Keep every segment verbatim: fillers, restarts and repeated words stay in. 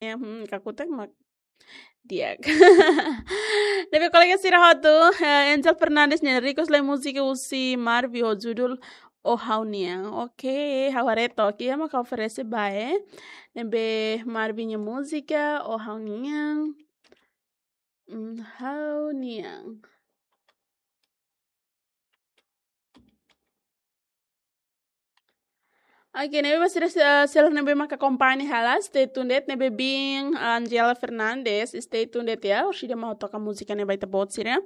Hmm, kakutak mak di'ak. Ne'ebé kolega sira hotu, eh, Angel Fernandes nia request lai múzika husi Marvi ho judul O Ha'u-nian. Oke, ha'u haree took iha mak oferese ba, eh. Ne'ebé Marvi nia múzika O Ha'u-nian. Mm, Ha'u-nian. Oke, ne'ebé ba sira, eh, seluk ne'ebé maka akompaña hela, stay tuned de'it, ne'ebé biin Angela Fernandes, stay tuned de'it ya, orsida mak ha'u toka múzika ne'e ba ita-boot sira.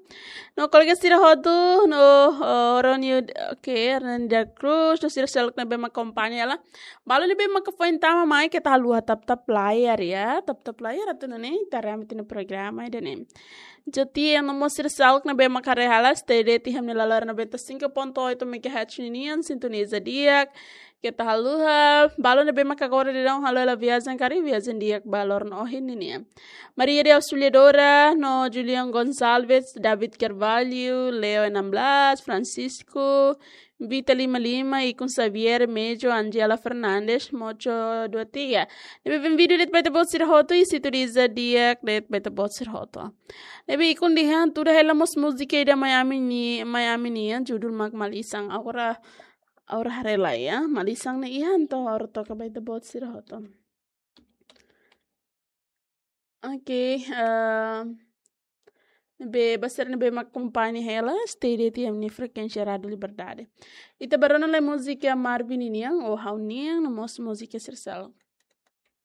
No kolega sira hotu, no, eh, Ronio, oke, Hernanda Cruz, no sira seluk ne'ebé maka akompaña hela. Balu ne'ebé maka foin tama mai keta haluha tap-tap layar ya, tap-tap layar atu nune'e, ita rame tiha ona programa ida-ne'e. Joti yang nomor sira seluk ne'ebé maka haree hela, stay de'it iha mak ne'e laloran noventa e cinco ponto oito megahertz ninian, sintoniza di'ak, keta haluha, balu ne'ebé maka agora daudaun halo hela viajen karik, viajen di'ak ba loron ohin ninian. Maria de Auxiliadora, no Julian Gonçalves, David Carvalho, Leo enam belas, Francisco, Vita lima lima, Ikun Xavier, Mejo, Angela Fernandes, Mocho dua tiga. Ne'ebé bem-vindo de'it ba ita-boot sira hotu, i sintoniza di'ak de'it ba ita-boot sira hotu. Ne'ebé Ikun dehan, tuda hela mós múzika ida Miami ni, Miami nian, judul mak Malisan. Agora, agora haree lai ya, Malisan ne'e iha, entaun agora toka ba ita-boot sira hotu. Oke, eh, ne'ebé ba sira ne'ebé mak akompaña hela, stay de'it iha mak ne'e frekuénsia Rádio Liberdade. Ita bá rona lai múzika Marvi ninian, O Ha'u-nian, no mós múzika sira seluk.